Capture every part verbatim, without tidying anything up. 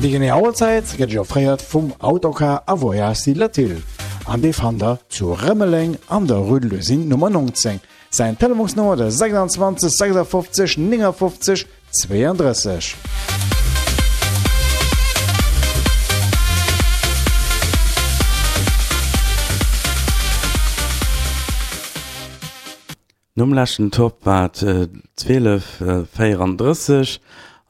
Déi genee Auerzäit gëtt Iech offréiert vum Autocar a Voyages Latil an dee fannt der zu Rëmeleng an der Rue de l'Usine Nummer neunzéng. Säin Telefonsnummer de sechsundzwanzeg sechsundfünfzig neunundfünfzig zweiunddrësseg. Nom leschten Topp war et zwielef véierandrësseg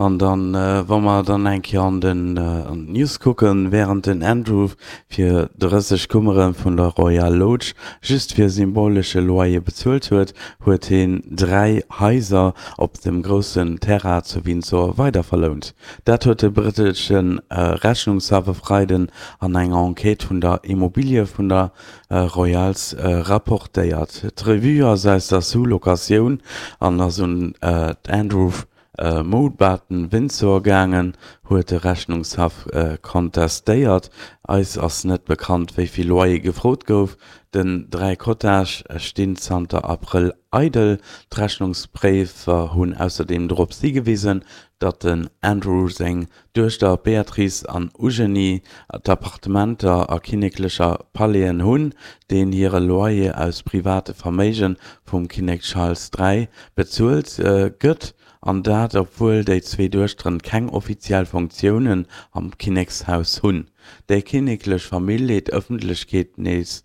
an dann, wa mer dann eng Kéier an den an d'News kucken, wärend den Andrew fir drësseg Kummere vun der Royal Lodge just fir symbolesche Loyer bezuelt huet, huet hien dräi Haiser op dem groussen Terrain zu Windsor weiderverlount. Dat huet de brittesche Rechnungshaff e Freiden an enger Enquête vun der Immobilie vun der Royals rapportéiert. D'Revue ass aus der Sous-Locatioun an ass un d'Andrew Mountbatten-Windsor gaangen, huet de Rechnungshaff kontestéiert. Eis ass net bekannt, wéi vill Loyer gefrot gouf. Den dräi Cottage stinn zanter Abrëll eidel. D'Rechnungspréifer hunn ausserdeem dorops higewisen, datt den Andrew seng Duechter Beatrice an Eugenie d'Appartementer a kinneklecher Palaisen hunn, deen hire Loyer aus private Verméige vum Kinnek Charles dräi bezuelt gëtt, an dat obwuel déi zwee Duechteren keng offiziell Funktiounen am Kinnekshaus hunn. Déi kinneklech Famill leet d'Ëffentlechkeet nees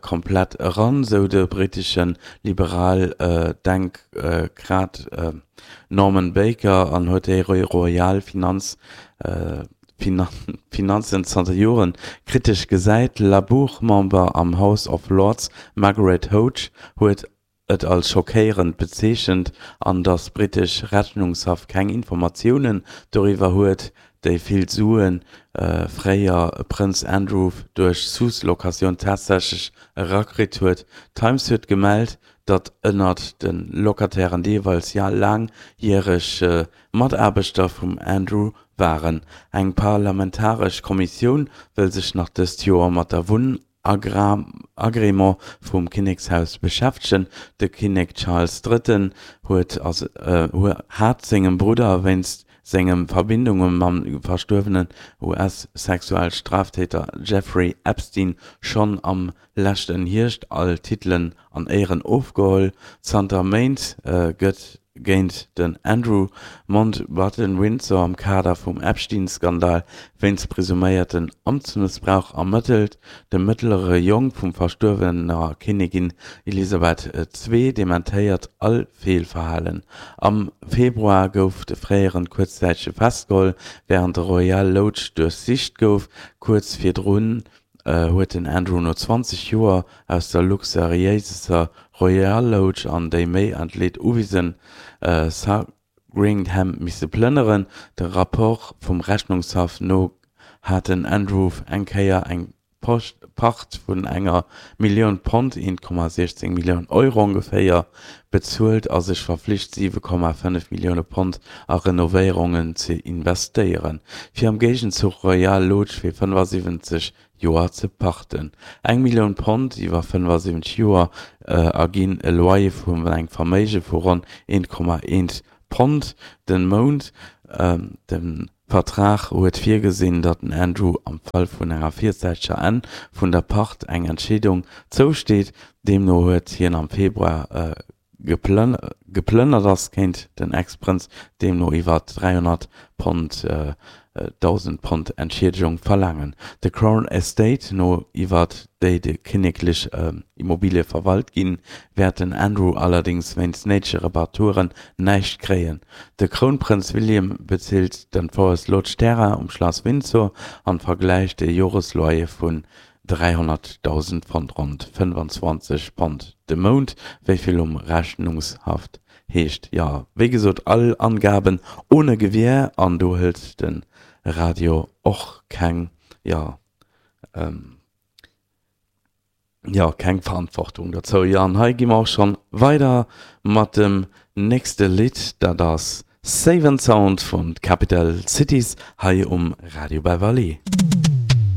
komplett eran, sou de brittesche Liberaldenkrat Norman Baker an huet déi royal Finanzen zanter Jore kritesch gesäit. Labour-Member am House of Lords Margaret Hodge huet et als schockéierend bezeechent an datt brittesch Rechnungshaff keng Informatiounen doriwwer huet, déi vill Sue fréier Prënz Andrew duerch Sous-Locatioun tatsächlech erakritt huet. D'Times huet gemellt, datt ënnert de Locatairen deelweis laangjäreg Mataarbechter vum Andrew waren. Eng parlamentaresch Kommissioun wëll sech nach dëst Joer mat der Wunn-Agrément vum Kinnekshaus beschäftegen. De Kinnek Charles Drëtten huet hat sengem Brudder wéinst senge Verbindunge mam verstuerwenen U S-Sexualstraftäter Jeffrey Epstein schonn am leschten Hierscht all Titelen an Éieren ofgeholl. Zanter Méint gëtt géint den Andrew Mountbatten-Windsor am Kader vum Epstein-Skandal wéinst presuméierten Amtsmëssbrauch ermëttelt. De mëttlere Jong vum verstuerwener Kinnigin Elisabeth Ii dementéiert all Feelverhalen. Am Februar gouf de fréieren kuerzzäitege festgeholl, wärend de Royal Lodge duerchsicht gouf. Kuerz virdrun huet den Andrew no zwanzeg Joer aus der luxuriéiser Royal Lodge an déi méi entleet Uwisen Sandringham misse plënneren. Dem Rapport vum Rechnungshaff no hat den Andrew eng Kéier eng Pacht vun enger Millioun Pond, een Komma siechzéng Millioun Euro ongeféier, bezuelt a sech verflicht, siwe Komma fënnef Millioune Pond a Renovéierungen ze investéieren, fir am Géigenzuch Royal Lodge fir fënnefasiwwenzeg Joer ze pachten. Eng Millioun Pond iwwer fënnefasiwwenzeg Joer erginn e Loyer vun engem Verméige vu ronn een Komma eent Pond den Mount. De Vertrag huet virgesinn, datt den Andrew am Fall vun enger virzäiteger Enn vun der Pacht eng Entscheedung zousteet. Deemno huet hien am Februar geplënnert ass, kéint den Ex-Prënz deemno iwwer dräihonnert Pond, dausend Pond Entschiedegung verlaangen. De Crown Estate no, iwwer déi déi kinneklech Immobilie verwalt ginn, wäert den Andrew allerdéngs wéinst néidege Reparaturen näischt kréien. De Krounprënz William bezilt de Forest Lodge Terrain um Schlass Windsor an vergläicht e Joresloyer vun dräihonnertdausend Pond, ronn fënnfanzwanzeg Pond de Mount, wéi vill um Rechnungshaff heescht. Jo, wéi gesot, all Angaben ohne Gewähr an do hëlt de Radio och keng, jo, jo, keng Verantwortung dozou. Jo, an hei gi mer och schonn weider mat dem nächste Lidd, dat ass Save and Sound vun Capital Cities hei um Radio Beverly.